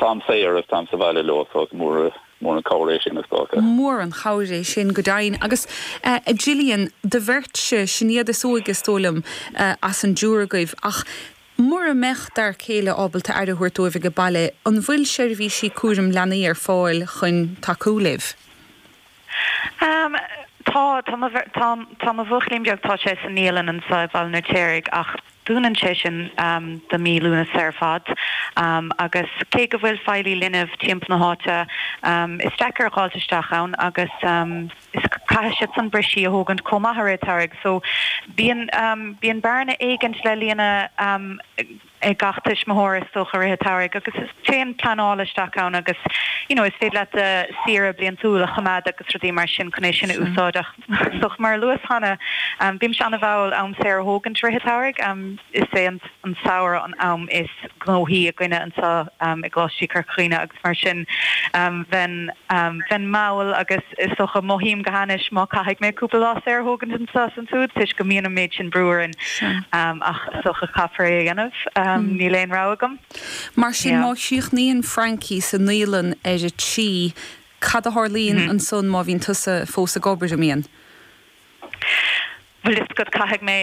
Táim saor agus táim sa bhaile leo so is mór mór an cabhair é sin is dócha. Mór an chabhair é sin go deimhin. Agus a Gillian, do bheirtse, sin iad is óige is dóigh liom as an dtriúr agaibh, ach mura mbeadh d'fhear céile ábalta aire a thabhairt dóibh ag baile, an bhfuil seirbhísí cúraim leanaí ar fáil chun tacú libh? Tá, tá mo, tá, tá mo bhuachaillín beag, tá sé sa naíolann anseo i Baile an Fheirtéaraigh ach dúnann sé sin do mí Lúnasa ar fad agus cé go bhfuil feighlí linbh timpeall na háite, is deacair a dh'fháilt isteach ann agus is caithfidh siad san brisí a thógaint chomh maith i rith an tsamhraidh so bíonn, bíonn bearna éigint le líonadh. ag gach tuismitheoir is dócha i rith an tsamhraidh agus is téann pleanáil isteach ann agus you know is féidir leat do saoire bliantúil a choimeád agus rudaí mar sin chun é sin a úsáid ach is dócha mar a luas cheana bímse an-mhall am saor a thógaint i rith an tsamhraidh. Is é an samhradh an am is gnóthaí againne anseo i gColáiste Chorca Dhuibhne agus mar sin bheinn bheinn mall agus is dócha mothaím go hainnis má caithfidh mé cúpla lá saor a thógaint anseo is ansiúd toisc go mbíonn an méid sin brú orainn ach is dócha caithfear é a dhéanamh, níl aon rogha agam. Mar sin má chríochnaíonn Frankie sa naíolann ar a trí, cad a tharlaíonn ansan má bhíonn tusa fós ag obair, an mbíonn? Bhfuil fhios agat, caithfidh mé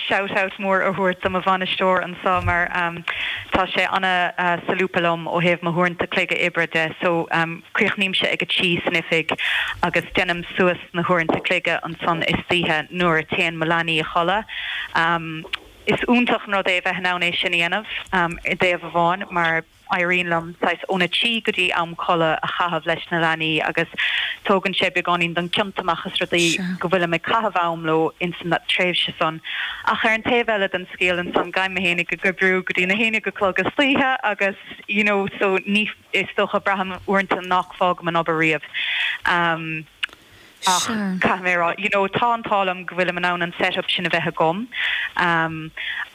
shout out mór a thabhairt do mo bhainisteoir anseo mar tá sé ana-solúbtha liom ó thaobh mo huaireanta cloige oibre de. So críochnaímse ag a trí san oifig agus déanaim suas na huaireanta cloige ansan istoíche nuair a téann mo leanaí a chodladh. Is iontach an rud é a bheith in ann é sin a dhéanamh i dtaobh amháin mar, éiríonn liom saghas óna trí go dtí am codladh a chaitheamh leis na leanaí agus tógann sé beagáinín den ciont amach as rudaí go bhfuilim ag caitheamh am leo ins an tréimhse san. Ach ar an taobh eile den scéal ansan gabhaim mé fhéinig ag oibriú go dtí na haon déag a chlog istoíche agus you know so ní is dócha braithim uaireanta nach bhfágaim an obair riamh. Um. Ach caithfidh mé a rá, you know, tá an t-ádh liom go bhfuilim in ann an set-up sin a bheith agam.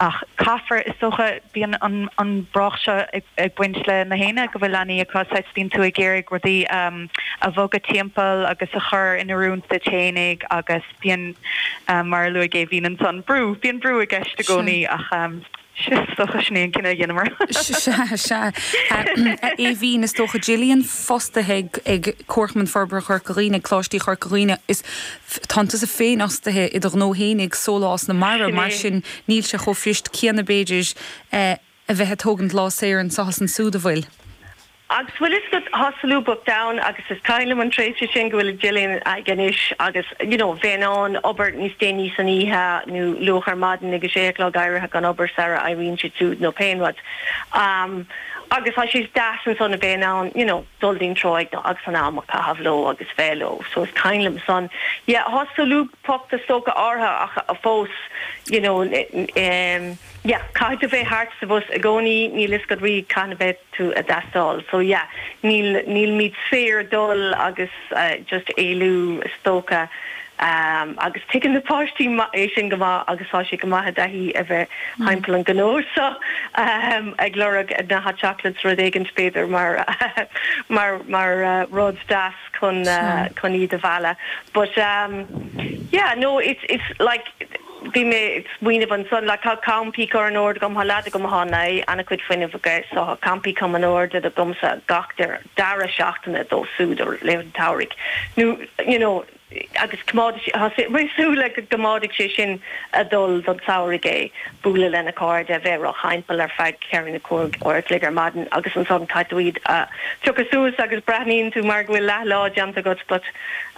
Ach caithfear, is dócha, bíonn an an brách seo ag baint le na héinne go bhfuil leanaí acu, saghas bíonn tú ag iarraidh rudaí a bhogadh timpeall agus a chur in oiriúint duit fhéinig agus bíonn, mar a luaigh Aoibhín ansan, brú, bíonn brú i gceist i gcónaí ach. Is dócha sin é an cinneadh a dheineamar. Sea, sea. A Aoibhín, is dócha Gillian fostaithe ag Comharchumann Forbartha Chorca Dhuibhne, ag Coláistí Chorca Dhuibhne, is tánn tusa féin fhostaithe i do ghnó fhéinig, Sólás na Mara, mar sin níl sé chomh fuirist céanna b'fhéidir a bheith ag tógaint lá saor anso is ansúd, an bhfuil? Agus bhfuil fhios agat, tá solúbthacht ann agus is cuimhin liom an tréimhse sin go bhfuil Gillian ag anois agus you know bheith in ann obair níos déanaí san oíche nó luath ar maidin ag a sé a chlog éirithe gan obair sara éiríonn siad siúd nó pé rud. Um agus tá sé deas ansan a bheith in ann you know dul dtí'n tráigh nó agus an am a chaitheamh leo agus bheith leo so is cuimhin liom san. Yeah tá solúbthacht is dócha áirithe ach fós you know um yeah caithfidh tú bheith thart sa bhus i gcónaí níl fhios agat riamh cathain a bheidh tú a dteastáil. So yeah, níl, nílimid saor dul agus just éalú is dócha. Agus tuigeann na páistí é sin go maith agus tá sé go maith i dtaithí a bheith thimpeall an ghnó so ag lorg na hot chocolates rud éigint b'fhéidir mar, mar, mar rud deas chun, chun iad a mhealladh. But yeah, no, it's, it's like, Bhí mé ag smaoineamh ansan, like tá campaí curtha in ord agam, tá leaid agam atá in ann ana-chuid fuinnimh aige so tá campaí curtha in ord agamsa gach deireadh seachtaine dó súd i rith an tsamhraidh nó you know agus coimeádfaidh sé, tá mé ag súil le go gcoimeádfaidh sé sin a dul don samhradh é, bualadh lena chairde, a bheith róthimpeall ar feadh ceithre nó cúig uair a chloig ar maidin agus ansan caithfidh tú iad a phiocadh suas agus breathnaíonn tú mar go bhfuil leath lá déanta agat but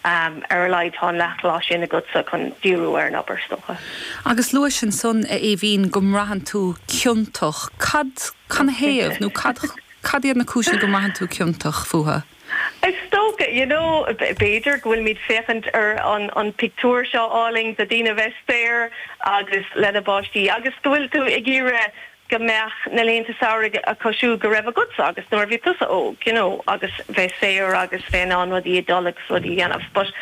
Ar a laghad tá an leathlá sin agatsa chun díriú ar an obair, is dócha. Agus luais ansan, a Aoibhín, go mbraitheann tú ciontach. Cad, canathaobh, nó cad, cad iad na cúiseanna go mbraitheann tú ciontach fúthu? Is dócha, you know, b'fhéidir go bhfuilimid féachaint ar an, an pictiúr seo álainn de daoine a bheith saor agus lena bpáistí agus go bhfuil tú ag iarraidh go mbeadh na laethanta samhraidh acu siúd go raibh agatsa agus nuair a bhí tusa óg, you know, agus bheith saor agus bheith in ann rudaí a dul agus rudaí a dhéanamh. But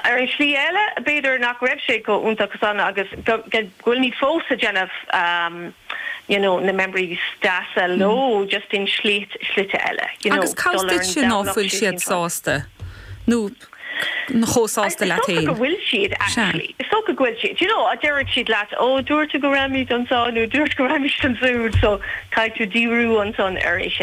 ar an slí eile, b'fhéidir nach raibh sé chomh iontach san agus go bhfuilimid fós ag déanamh you know, na memories deasa leo just in slite eile, you know, Agus cá dul bhfios ar an duitse ná Domhnach fuil síos siad an trá. sásta nó chomh sásta Is leat dócha féin. go bhfuil siad, Sea. actually. Is dócha go bhfuil siad. You know, déarfaidh siad leat, oh, dúirt tú go raghaimid anseo nó dúirt go raghaimid ansiúd, so caithfidh tú díriú ansan ar é sin.